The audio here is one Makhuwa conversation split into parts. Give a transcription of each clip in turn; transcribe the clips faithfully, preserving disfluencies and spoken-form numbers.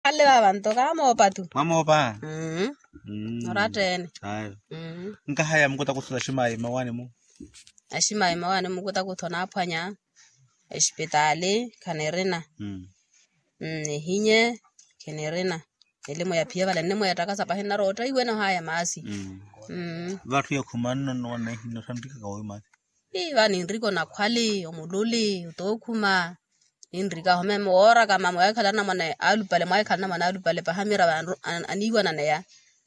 Khanle vavanto kamoopatu. Mwamoopa. Mmm. Oratteene. Ayo. Nkahaya mukutakutho taximayi mmawaani-mu. Aximayi mmawaani mukutakutho naaphwanya. Exipitaali khanirina. Nihinye khenirina. Elimu ya phiya vale nnimweettakasa pahi nnarootta iwene ohaya maasi. Vatthu yakhuma nno nno wanneehinno thanrikaka woowi maasi. Ii va ninrika onakhwali omululi otookhuma. Ninrika ahome wooraka mama waahikhala anamwane alupale mwaahikhala anamwane alupale paha miravo aniiwananeya.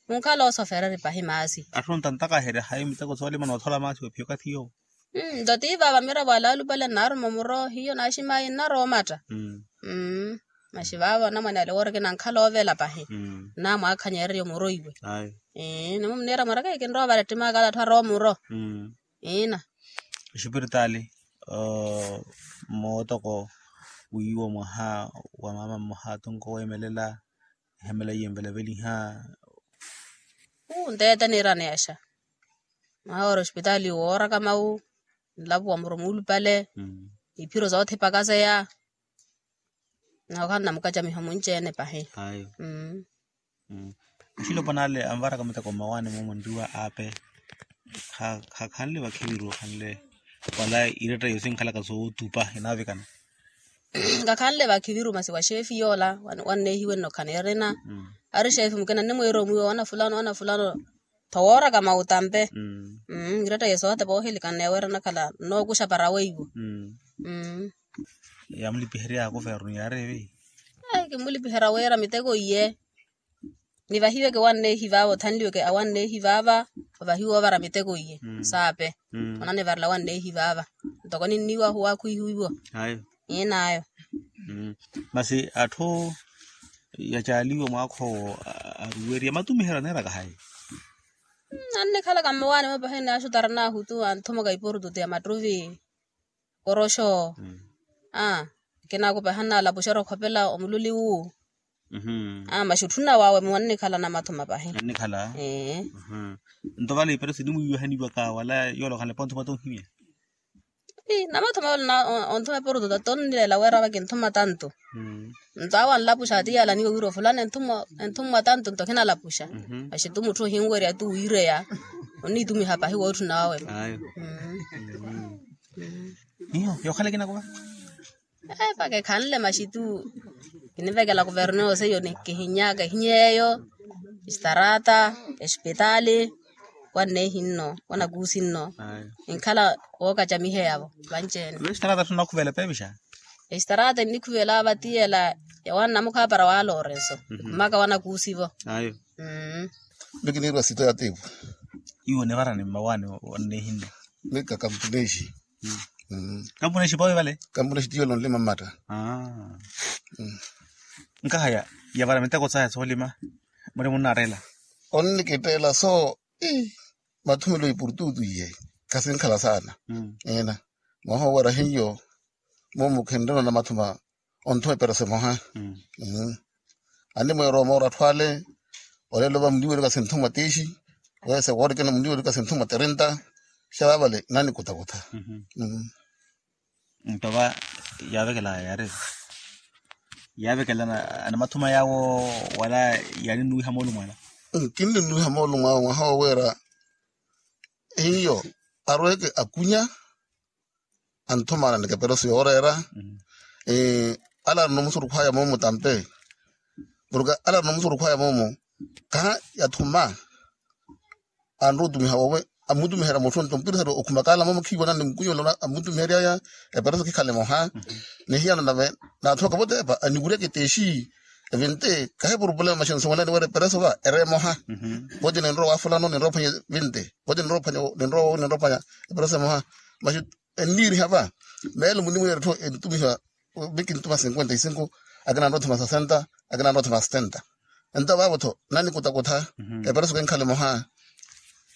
Munkhala osofereri pahi maasi. Atthu ontantakaherya hayi miteko soolima noothola maasi wephiya okathi yoowo. Nto tii vaava miravo alaalupale nnaaruma omuro hiyo naaximayi nnaroomatta. Masi vaavo anamwane ale wooreke nankhala oovela pahi. Namwaakhanyererye omuro iwe. Nimumniira mwaraka ekinrowa vale ttimaka ala atthu arowa omuro. Iina. Exipiritaali mootoko wiiwa mwaha wa maama mmoha atonko weemelela ehemela iye nvelaveliha. Uu nteete niiraneyaxa. Mwaha wooreya oxipitaali wooraka mawu nlapuwa muro muulupale. Iphiro soothipakaseya. Nookhala namukacamiho munci-ene pahi. Ayo. Axilopwana ale anvaraka miteko mmawaani moomo nriwa aape. Khakhanle vakhiviru okhanle wala iretta yosi nkhalaka sootupa enaavikana. Nkakhanle vakhiviru masi wa xeefi yoola wanneehiwe nno khanirina. Ari xeefi mukina nnimwiira omwiiwa wana fulano wana fulano. Tho wooraka mautampe. Iretta yesu ohatepa oohilikana neeweera nakhala nnookuxa para weiwo. Yaamulipiherya kuvernu yaari evi. Kimulipiherya wira miteko iye. Nivahiweke wanneehi vaava othanliweke awanneehi vaava. Ovahiwa ovara miteko iye saape. Onanivarela wanneehi vaava. Ntoko ninniiwahu wakhwihiwiwo. Iinaayo. Masi atthu yacaaliwa mwaakha owo aruwerya matumiheryo aneeraka hayi? Annikhalaka mmawaani mwe pahi naaxutaranahu tu anthumaka ipurututu ya mattuvi. Koroxo. Akina akupaha nnaalapuxerya okhopela omululi wu. Masi otthuna wawe mwe annikhala namathuma pahi. Nto vale ipereso inimwiiwihaniwaka wala yoola okhanle ponthuma tonhimya. Namathuma yoola onthuma epurututu tonnileela wira vakinthuma tantu. Nto awo anlapuxa ati yaalaniwa wira ofulani enthumwa tantu nto khinalapuxa. Masi tu mutthu ohinwerya tu wiireya. Onniitumiha pahi wootthuna wawe. Hiyo yookhala ekinakuva. Epaka ekhanle masi tu. Kinivekela kuvernu yoosi eyo kihinyaka ehinyeeyo. Estarata, esipitaali. Wanneehi nno wanakuusi nno. Enkhala wookacamiheyavo vanci-ene. Estarata tthuna okhuvela peevixa. Estarata ennikhuvela vatiyela. Yawanna mukhaapara wa lorenso. Khumaka wanakuusivo. Ayo. Miki niirwa sito ya tiipu. Iwo nivarani mmawaani wanneehi nno. Mika kampunexi. Kampunexi pawe vale. Kampunexi tiyo lonlima mmatta. Nkahaya yavara miteko saya soolima. Muri munnattela. Onnikitteela so. Mathumelo ipurututu iye. Khasinkhala saana. Eena. Mwaha oweera hiyo. Moomo khenrina namathuma. Onthuma epereso emoha. Animweerwa omoora atthu ale. Olelo va muniwerika sinthumwa tiixi. Wese woorikina muniwerika sinthumwa tirinta. Xa vaavale nanikutakutha. Nto va yaavekela yaari. Yaavekela anamathuma yaawo wala yaaninnuwiha moolumo ala. Kinninnuwiha moolumo awo mwaha woweera. Hiyo arweke akunya. Anthuma ananeka epereso yooreera. Ala arina omusurukhwaya moomo tampe. Porke ala arina omusurukhwaya moomo. Kaha yathuma anrowa otumiha wowe. Amutumiherya mutthu nto mpirisa ri okhumakaala moomo khiiwanani mukunyolo amutumiheryaya. Epereso khikhala emoha. Nihiyana nave naathoka votepa anikuryaka eteexi. Evinte kahi purupulema maxi nsumwelani wira epereso va ere emoha. Voti ninrowa wa fulano ninrowa ophwanya evinte. Voti ninrowa ophwanya ninrowa ophwanya. Epereso emoha. Maxi enniiriha va. Meelo munimwiira etthu entumiha. Miki ntuma cinquenta y cinco. Akina anrowa othuma sesenta. Akina anrowa othuma setenta. Ento vaavo-tho nanikutakutha. Epereso kenkhala emoha.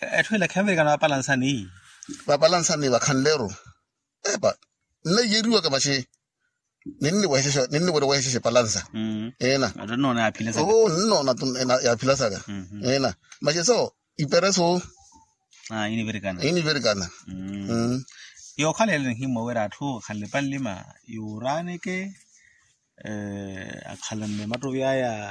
Etthu ila khenvirikana vapalansani. Vapalansani vakhanleru. Epa nneiyeriwaka maxi. Ninniwehexexa ninniwere wehexexa epalansa. Eena. Ninnoona yaaphilasaka. Eena. Maxi so ipereso. Inivirikana. Inivirikana. Yookhala ele nihimwa wira atthu akhanle panlima yuuraaneke. Akhalanne mattovi aya.